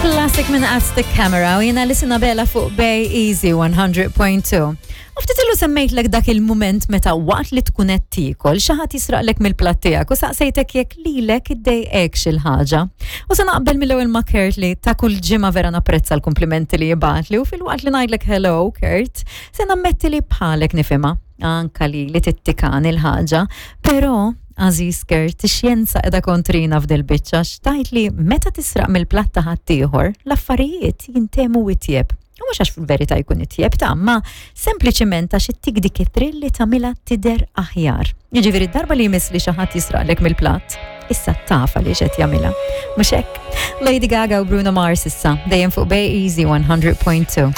Classic minn Aztec Camera u jena li Bella fuq Bay Easy 100.2. U ftit ilu semmejtlek dak il-mument meta waqt li tkun qed tiekol xi ħadd jisraqlek mill-platt tiegħek u saqsejtek jekk lilek iddejqek xi ħaġa. U se naqbel mill-ewwel ma' Kurt li ta' kull ġimgħa vera napprezza l-kumplimenti li jibgħatli u filwaqt li ngħidlek hello Kurt, se nammetti li bħalek nifhimha anka li li tittikan il-ħaġa, però Aziz Kurt, ix-xjenza qiegħda kontrina f'dil biċċa xtajt li meta tisraq mill-platt ta' ħaddieħor, l-affarijiet jintemu itjeb. U mhux għax fil-verità jkun itjeb ta' ma sempliċiment għax ittik dik it-trill li tagħmilha tidher aħjar. Jiġifieri darba li jmiss li xi ħadd jisraqlek mill-platt, issa taf għaliex qed jagħmilha. Mhux hekk? Lady Gaga u Bruno Mars issa dejjem fuq Bay Easy 100.2.